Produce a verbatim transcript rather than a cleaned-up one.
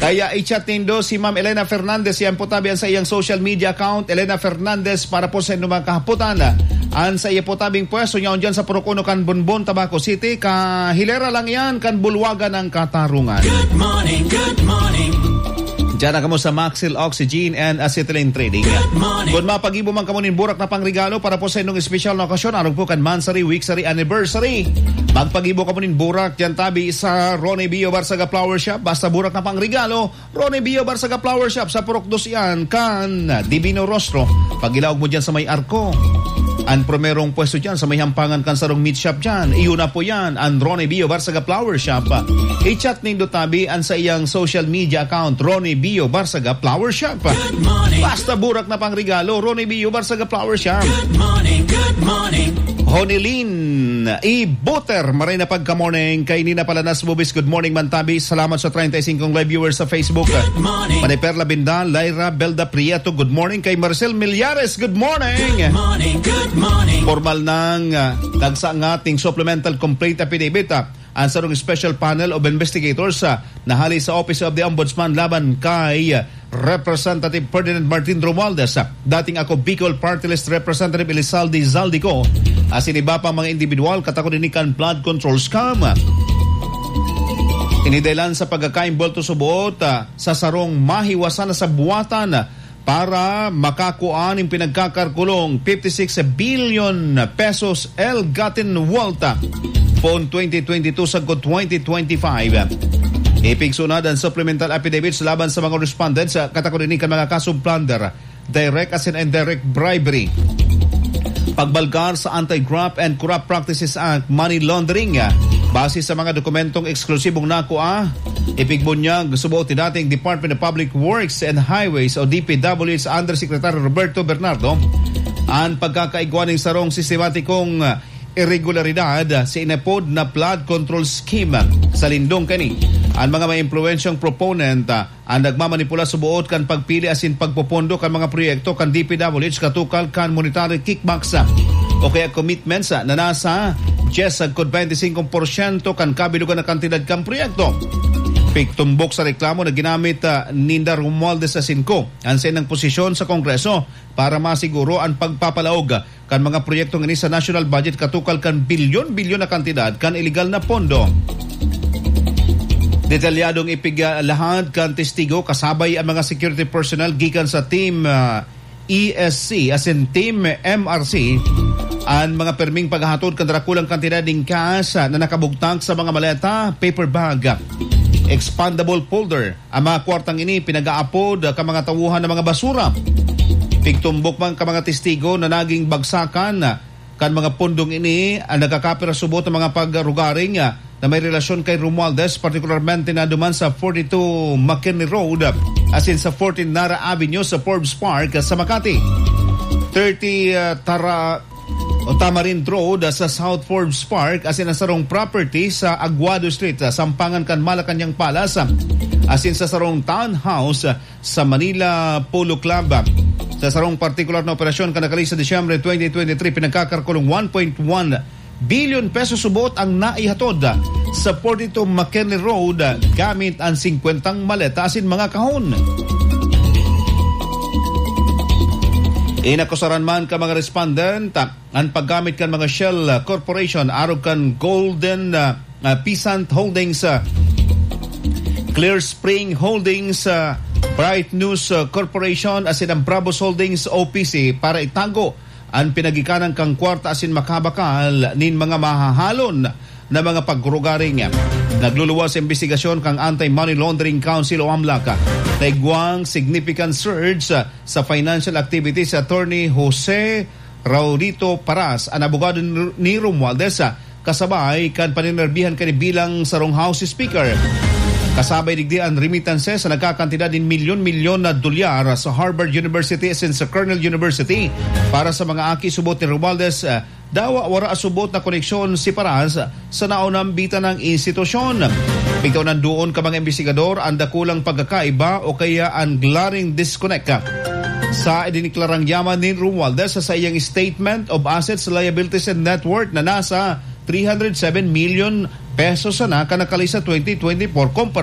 Kaya i-chat nindo si Ma'am Elena Fernandez, yan po tabi ang sa iyang social media account, Elena Fernandez, para po sa inyong mga kahapotan. Ang sa iya po tabing pwesto niya, dyan sa Purok Uno kan Bonbon, Tabaco City, kahilera lang yan, kan Bulwagan ng Katarungan. Good morning, good morning. Diyan na kamo sa Maxil Oxygen and Acetylene Trading. Good morning. Kung mapag-ibo man kamo nin burak na pangregalo para po sa inyong espesyal na okasyon, arog po kan monthsary, weeksary, anniversary. Magpag-ibo kamo nin burak, diyan tabi sa Ronnie Bio Barsaga Flower Shop. Basta burak na pangregalo, Ronnie Bio Barsaga Flower Shop sa Purok Dos yan, kan Divino Rostro. Pag-ilaog mo dyan sa may arko, ang primerong pwesto dyan sa may hampangan kan sarong meat shop dyan. Iyo na po yan, ang Ronnie Bio Barsaga Flower Shop. I-chat nindo tabi ang sa iyang social media account, Ronnie Bio Barsaga Flower Shop. Good morning. Basta burak na pangregalo, Ronnie Bio Barsaga Flower Shop. Good morning, good morning. Honilin Ibuter, maray na pagka-morning. Kay Nina Palanas Bubis, good morning, Mantabi. Salamat sa treinta y cinco live viewers sa Facebook. Good morning. Manay Perla Bindal, Lyra Belda Prieto, good morning. Kay Marcel Millares, good morning. Good morning, good morning. Formal nang, ah, nagsangat ning supplemental complaint affidavit, ah, ang sarong special panel of investigators, ah, na hali sa Office of the Ombudsman laban kay, ah, Representative Ferdinand Martin Romualdez, ah, dating Ako Bicol Party List Representative Elizalde Zaldico, asin iba pang mga individual katakod ini kan flood control scam. Ini dahilan sa pagkakaimbulto subot, ah, sa sarong mahiwasan na sabuatan, ah, para makakua nin pinagkakalkulong fifty-six billion pesos ill-gotten wealth, ah, poon twenty twenty-two sagkod twenty twenty-five. Ipigsunad ang supplemental affidavits laban sa mga respondents sa katakod ini kan mga kasong plunder, direct asin indirect bribery, pagbalgar sa Anti-Graft and Corrupt Practices Act, money laundering. Base sa mga dokumentong eksklusibong nakua, ipigbunyag subot ni dating Department of Public Works and Highways o D P W H Undersecretary Roberto Bernardo ang pagkakaigwa nin sarong sistematikong irregularidad sa inapod na flood control scheme. Sa lindong kani, ang mga maimpluwensyang proponent, ah, ang nagmamanipula subot kan pagpili asin pagpopondo kan mga proyekto kan D P W H katukal kan monetary kickbacks, ah, o kaya commitments, ah, na nasa diyes sagkod twenty-five porsyento kan kabilugan na kantidad kan proyekto. Pigtumbok sa reklamo na ginamit, ah, ninda Romualdez asin co ang saindang posisyon sa Kongreso para masiguro ang pagpapalaog kan mga proyektong ini sa national budget katukal kan bilyon-bilyon na kantidad kan iligal na pondo. Detalyadong ipiglahat kan testigo kasabay ang mga security personnel gikan sa Team, ah, E S C asin Team M R C ang mga perming paghahatod kan darakulang kantidad nin cash, ah, na nakabugtak sa mga maleta, paper bag, expandable folder, ang mga kwartang ini pinag-aapod kan mga tauhan na mga basura. Pigtumbok man kan mga testigo na naging bagsakan kan mga pondong ini ang nagkakapira subot ng mga pagrugaring, ah, na may relasyon kay Romualdez, partikularmente na duman sa forty-two McKinley Road, ah, asin sa fourteen Nara Avenue sa Forbes Park, ah, sa Makati. Thirty, ah, Tara-, o Tamarind Road, ah, sa South Forbes Park, asin ang sarong property sa Aguado Street, ah, sampangan kan Malacañang Palace, ah, asin sa sarong townhouse, ah, sa Manila Polo Club. Sa sarong partikular na operasyon, kan nakalihis sa Disyembre twenty twenty-three, pinagkakalkulong one point one billion pesos subot ang naihatod sa forty-two McKinley Road gamit ang singkwentang maleta asin mga kahon. Inakusaran man kan mga respondent, ah, an paggamit kan mga shell, ah, corporation arog kan Golden, ah, ah, Peasant Holdings, ah, Clear Spring Holdings, ah, Bright News, ah, Corporation, asin ang Bravos Holdings O P C para itago an pinagikanan kan kwarta asin makabakal nin mga mahahalon na mga pagrugaring. Nagluluwas sa imbestigasyon kan Anti-Money Laundering Council o AMLAC na igwang significant surge sa financial activities si Attorney Jose Raulito Paras, an abogado ni, ni Romualdez, kasabay kan paninerbihan kani bilang sarong House Speaker. Kasabay digdi an remittances na nagkakantidad nin milyon-milyon na dolyar sa Harvard University asin sa Cornell University para sa mga aki subot ni Romualdez, dawa wara subot na koneksyon si Paras sa naunambitan nang institusyon. Pigtaw nandoon kan mga imbestigador an dakulang pagkakaiba o kaya an glaring disconnect sa idiniklarang yaman ni Romualdez sa saiyang Statement of Assets, Liabilities, and Net Worth na nasa three hundred seven million pesos sana kan nakalihis sa twenty twenty-four, kumpara